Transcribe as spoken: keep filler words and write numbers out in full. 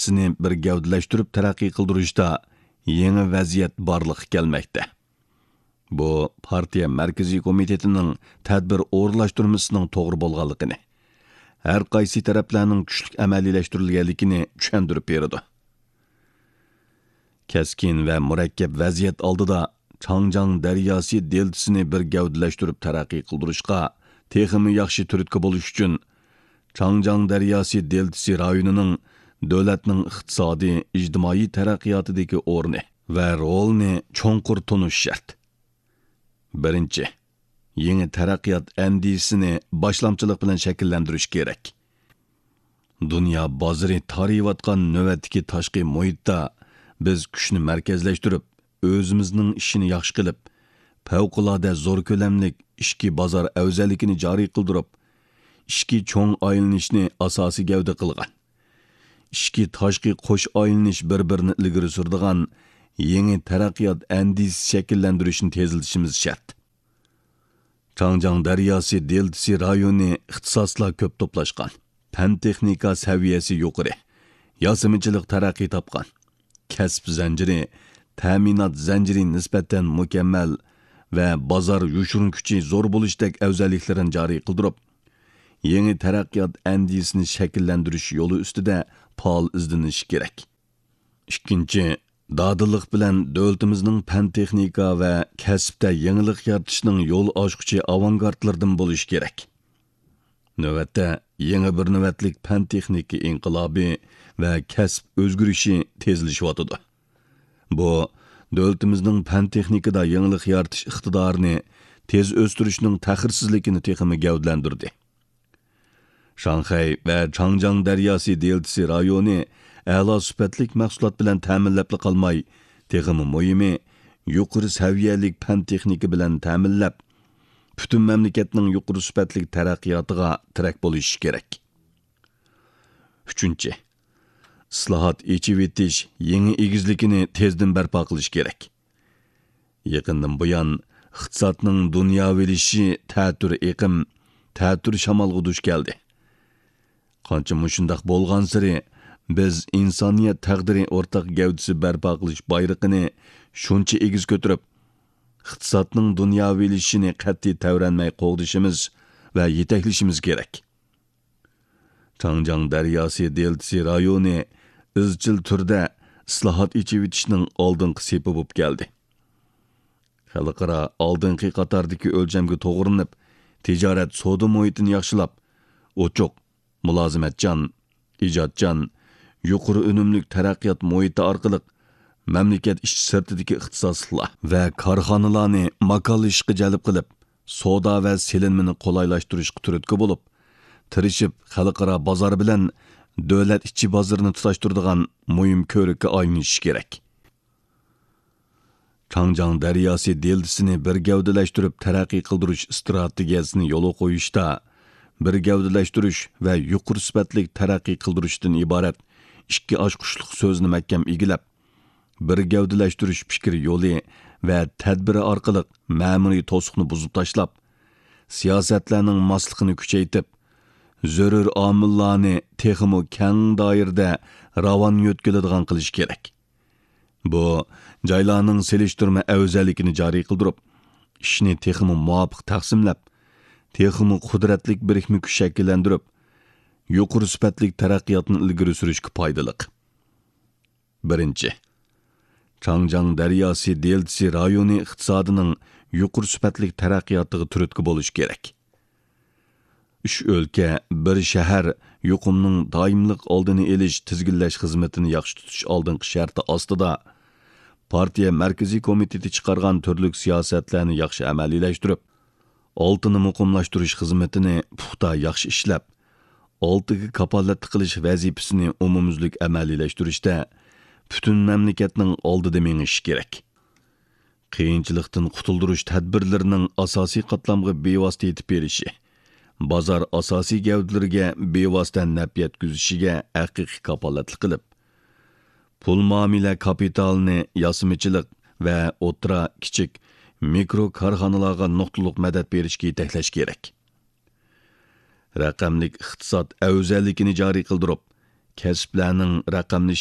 ئەندىزىسىنى بىر گەۋدىلەشتۈرۈپ تەرەققىي قىلدۇرۇشتا يېڭى ۋەزىيەت بارلىققا كەلمەكتە. بۇ پارتىيە مەركىزىي كومىتېتىنىڭ تەدبىر ئورۇنلاشتۇرمىسىنىڭ توغرا بولغانلىقىنى، ھەر قايسى تەرەپلەرنىڭ كۈچلۈك ئەمەلىيلەشتۈرۈلگەنلىكىنى چۈشەندۈرۈپ بېرىدۇ. كەسكىن ۋە مۇرەككەپ ۋەزىيەت ئالدىدا چاڭجياڭ دەرياسى دېلتىسىنى بىر گەۋدىلەشتۈرۈپ تەرەققىي قىلدۇرۇشقا تېخىمۇ ياخشى تۈرتكە بولۇش ئۈچۈن، چاڭجياڭ دەرياسى دېلتىسى رايونىنىڭ دۆلەتنىڭ ئىقتىسادىي، ئىجتىمائىي تەرەققىياتىدىكى ئورنى ۋە رولىنى چوڭقۇر تونۇش شەرت. بىرىنچى، يېڭى تەرەققىيات ئەندىزىسىنى باشلامچىلىق بىلەن شەكىللەندۈرۈش كېرەك. دۇنيا بازىرى تارىيىۋاتقان نۆۋەتتىكى تاشقى مۇھىتتا بىز كۈچنى مەركەزلەشتۈرۈپ، ئۆزىمىزنىڭ ئىشىنى ياخشى قىلىپ، پەۋقۇلئاددە زور كۆلەملىك ئىچكى بازار ئەۋزەللىكىنى جارى قىلدۇرۇپ، ئىچكى چوڭ ئايلىنىشنى ئاساسىي گەۋدە قىلغان، ئىچكى تاشقى قوش ئايلىنىش بىر-بىرىنى ئىلگىرى سۈرىدىغان يېڭى تەرەققىيات ئەندىزىسى شەكىللەندۈرۈشنى تېزلىتىشىمىز شەرت. چاڭجياڭ دەرياسى دېلتىسى رايونى ئىختىساسلار كۆپ توپلاشقان، پەن-تېخنىكا سەۋىيەسى يۇقىرى، ياسىمىچىلىق تەرەققىي تاپقان، كەسىپ زەنجىرى، تەمىنات زەنجىرى نىسبەتەن مۇكەممەل ۋە بازار يوشۇرۇن كۈچى زور بولۇشتەك ئەۋزەللىكلىرىنى جارى قىلدۇرۇپ، يېڭى تەرەققىيات ئەندىزىسىنى شەكىللەندۈرۈش يولى ئۈستىدە پائال ئىزدىنىش كېرەك. ئىككىنچى، دادىللىق بىلەن دۆلىتىمىزنىڭ پەن-تېخنىكا ۋە كەسىپتە يېڭىلىق يارىتىشنىڭ يول ئاچقۇچى ئاۋانگارتلىرىدىن بولۇش كېرەك. نۆۋەتتە، يېڭى بىر نۆۋەتلىك پەن-تېخنىكا ئىنقىلابى ۋە كەسىپ ئۆزگىرىشى تېزلىشىۋاتىدۇ. بۇ، دۆلىتىمىزنىڭ پەن-تېخنىكىدا يېڭىلىق يارىتىش ئىقتىدارىنى تېز ئۆستۈرۈشنىڭ تەخىرسىزلىكىنى تېخىمۇ گەۋدىلەندۈردى. شاڭخەي ۋە چاڭجياڭ دەرياسى دېلتىسى رايونى ئەلا سۈپەتلىك مەھسۇلات بىلەن تەمىنلەپلا قالماي، تېخىمۇ مۇھىمى، يۇقىرى سەۋىيەلىك پەن-تېخنىكا بىلەن تەمىنلەپ، پۈتۈن مەملىكەتنىڭ يۇقىرى سۈپەتلىك تەرەققىياتىغا تىرەك بولۇشى كېرەك. ئۈچىنچى، ئىسلاھات، ئېچىۋېتىش يېڭى ئېگىزلىكىنى تېزدىن بەرپا قىلىش كېرەك. يېقىندىن بۇيان، ئىقتىسادنىڭ دۇنياۋىلىشىشى تەتۈر ئېقىم، تەتۈر شامالغا دۇچ كەلدى. قانچە مۇشۇنداق بولغانسېرى، بىز ئىنسانىيەت تەقدىرى ئورتاق گەۋدىسى بەرپا قىلىش بايرىقىنى شۇنچە ئېگىز كۆتۈرۈپ، ئىقتىسادنىڭ دۇنياۋىلىشىشىنى قەتئىي تەۋرەنمەي قوغدىشىمىز ۋە يېتەكلىشىمىز كېرەك. چاڭجياڭ دەرياسى دېلتىسى رايونى ئىزچىل تۈردە ئىسلاھات، ئېچىۋېتىشنىڭ ئالدىنقى سېپى بولۇپ كەلدى. خەلقئارا ئالدىنقى قاتاردىكى ئۆلچەمگە توغرىلىنىپ، تىجارەت، سودا مۇھىتىنى ياخشىلاپ، ئوچۇق، مۇلازىمەتچان، ئىجادچان، يۇقىرى ئۈنۈملۈك تەرەققىيات مۇھىتى ئارقىلىق مەملىكەت ئىچى سىرتىدىكى ئىختىساسلىقلار ۋە كارخانىلارنى ماكانلىشىشقا جەلپ قىلىپ، سودا ۋە سېلىنمىنى قولايلاشتۇرۇشقا تۈرتكە بولۇپ، تىرىشىپ خەلقئارا بازار بىلەن دۆلەت ئىچى بازىرىنى تۇتاشتۇرىدىغان مۇھىم كۆۋرۈككە ئايلىنىشى كېرەك. چاڭجياڭ دەرياسى دېلتىسىنى بىر گەۋدىلەشتۈرۈپ تەرەققىي قىلدۇرۇش ئىستراتېگىيەسىنى يولغا قويۇشتا، بىر گەۋدىلەشتۈرۈش ۋە يۇقىرى سۈپەتلىك تەرەققىي قىلدۇرۇشتىن ئىبارەت ئىككى ئاچقۇچلۇق سۆزنى مەھكەم ئىگىلەپ، بىر گەۋدىلەشتۈرۈش پىكىر يولى ۋە تەدبىرى ئارقىلىق مەمۇرىي توسۇقنى بۇزۇپ تاشلاپ، سىياسەتلەرنىڭ ماسلىقىنى كۈچەيتىپ، زۆرۈر ئامىللارنى تېخىمۇ كەڭ دائىرىدە راۋان يۆتكىلىدىغان قىلىش كېرەك. بۇ، جايلارنىڭ سېلىشتۇرما ئەۋزەللىكىنى جارى قىلدۇرۇپ، ئىشنى تېخىمۇ مۇۋاپىق تەقسىملەپ، تېخىمۇ قۇدرەتلىك بىرىكمە كۈچ شەكىللەندۈرۈپ، يۇقىرى سۈپەتلىك تەرەققىياتنى ئىلگىرى سۈرۈشكە پايدىلىق. بىرىنچى، چاڭجياڭ دەرياسى دېلتىسى رايونى ئىقتىسادىنىڭ يۇقىرى سۈپەتلىك تەرەققىياتىغا تۈرتكە بولۇش كېرەك. ئۈچ ئۆلكە، بىر شەھەر يۇقۇمنىڭ دائىملىق ئالدىنى ئېلىش، تىزگىنلەش خىزمىتىنى ياخشى تۇتۇش ئالدىنقى شەرتى ئاستىدا، پارتىيە مەركىزىي كومىتېتى چىقارغان تۈرلۈك سىياسەتلەرنى ياخشى ئەمەلىيلەشتۈرۈپ، ئالتىنى مۇقىملاشتۇرۇش خىزمىتىنى پۇختا ياخشى ئىشلەپ، ئالتىگە كاپالەتلىك قىلىش ۋەزىپىسىنى ئومۇميۈزلۈك ئەمەلىيلەشتۈرۈشتە پۈتۈن مەملىكەتنىڭ ئالدىدا مېڭىشى كېرەك. قىيىنچىلىقتىن قۇتۇلدۇرۇش تەدبىرلىرىنىڭ ئاساسىي قاتلامغا بىۋاسىتە يېتىپ بېرىشى، بازار ئاساسىي گەۋدىلىرىگە بىۋاسىتە نەپ يەتكۈزۈشىگە ھەقىقىي كاپالەتلىك قىلىپ، پۇل مۇئامىلە كاپىتالىنى ياسىمىچىلىق ۋە ئوتتۇرا، كىچىك، مىكرو كارخانىلارغا نۇقتىلىق مەدەت بېرىشكە يېتەكلەش كېرەك. رەقەملىك ئىقتىساد ئەۋزەللىكىنى جارى قىلدۇرۇپ، كەسىپلەرنىڭ رەقەملىشىشى